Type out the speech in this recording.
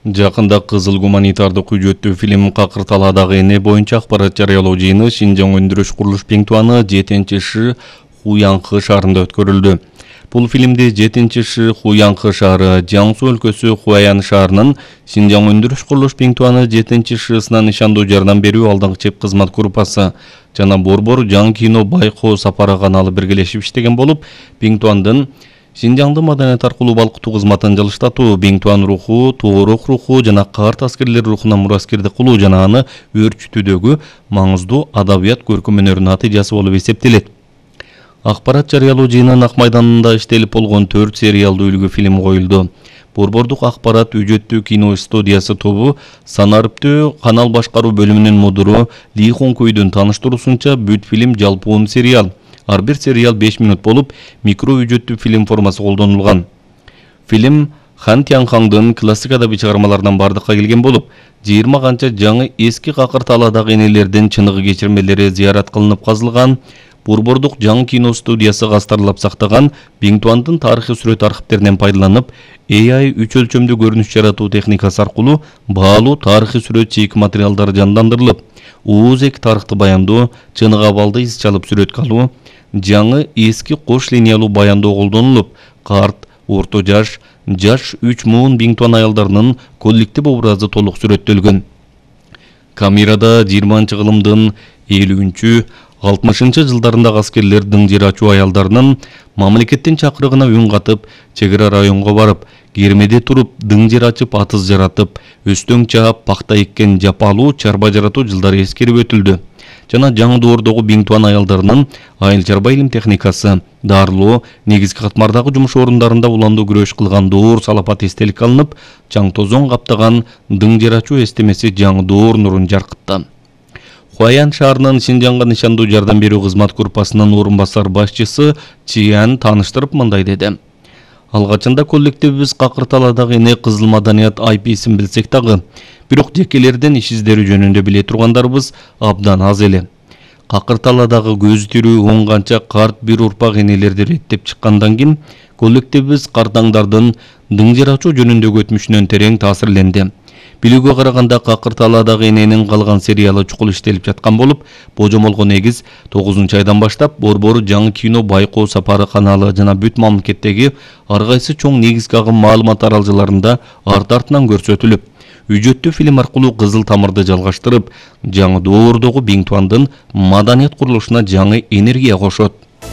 Жакында кызыл гуманитардык үжөттүү фильм Какырталадагы эне боюнча акпарат жарыялоо жыйыны Шинжаң өндүрүш курулуш Пиңтуаны 7-Ш Хуянхы шаарында өткөрүлдү. Бул фильмди 7-Ш Хуянхы шаары Жаңсу өлкөсү Хуаян шаарынын Шинжаң өндүрүш курулуш Пиңтуаны 7-Шсына нишандуу жардам берүү алдыңкы чеп кызмат группасы жана Борбор Жаң кино байкоо сапары каналы биргелешип иштеген болуп, Пиңтуандын Шинжаңды маданият аркылуу балкытуу кызматын жылыштатуу, Пиңтуан руху, Тоорох руху жана карт аскерлер рухуна мураскердик кылуу жана аны өөрчүтүүдөгү маңыздуу адабият көркөм өнөрүнүн натыйжасы болуп эсептелет. Акпарат жарыялоо жыйынынын Ак майданында иштелип болгон 4 сериалдуу үлгү фильм коюлду. Борбордук акпарат үжөттүү кино студиясы тобу Санарыптөө канал башкаруу бөлүмүнүн мудуру Ли Хонкуйдун тааныштыруусунча бүт фильм жалпуун сериал. Ар бир сериал 5 минут болуп, микро үжөттүү фильм формасы колдонулган. Фильм Хан Тянхаңдын классик адабий чыгармаларынан бардыкка келген болуп, 20 канча жаңы эски Какырталадагы энелердин чыныгы кечирмелери зыярат кылынып казылган. Борбордук Жаң кино студиясы кастарлап сактаган Пиңтуандын тарыхый сүрөт архивтеринен пайдаланып, AI 3 өлчөмдүү көрүнүш жаратуу техникасы аркылуу баалуу тарыхый сүрөт чийик материалдар жандандырылып, ууз-эки тарыхты баяндоо, чыныгы абалды из чалып сүрөткө алуу, жаңы эски кош линиялуу баяндоо колдонулуп, карт, орто жаш, жаш 3 муун Пиңтуан аялдарынын коллектив образы толук сүрөттөлгөн. Камерада 20-кылымдын 50-60 жылдарындагы аскерлер дыңжыр ачуу аялдарынын мамлекеттин чакырыгына үн катып, чек ара районго барып, кермеде туруп, дыңжыр ачып, атыз жаратып, өстөң чаап, пакта эккен жапалуу чарба жаратуу жылдары эскерип өтүлдү. Жана жаңы доордогу Пиңтуан аялдарынын айыл чарба илим техникасы, дарылоо, негизги катмардагы жумуш орундарында уландуу күрөш кылган доор салапат эстелик алынып, чаң тозоң каптаган дыңжыр ачуу эстемеси жаңы доор нурун жаркытты. Хуаян шаарынын Шинжаңга нишандуу жардам берүү кызмат группасынын орун басар башчысы Чиян тааныштырып мындай деди. Алгачында коллективибиз Какырталадагы эне кызыл маданият IP-син билсек дагы, бирок жекелерден иш издери жөнүндө биле тургандарыбыз абдан аз эле. Какырталадагы көзү тирүү 10 канча карт бир урпак энелерди реттеп чыккандан кийин коллективибиз картаңдардын дыңжыр ачуу жөнүндөгү өтмүшүнөн терең таасирленди. Билүүгө караганда Какырталадагы эненин калган сериалы чукул иштелип жаткан болуп, божомолго негиз 9-айдан баштап Борбор Жаң кино байкоо сапары каналы жана бүт мамлекеттеги ар кайсы чоң негизги агым маалымат аралжаларында арт-артынан көрсөтүлүп, үжөттүү фильм аркылуу кызыл тамырды жалгаштырып, жаңы доордогу Пиңтуандын маданият курулушуна жаңы энергия кошот.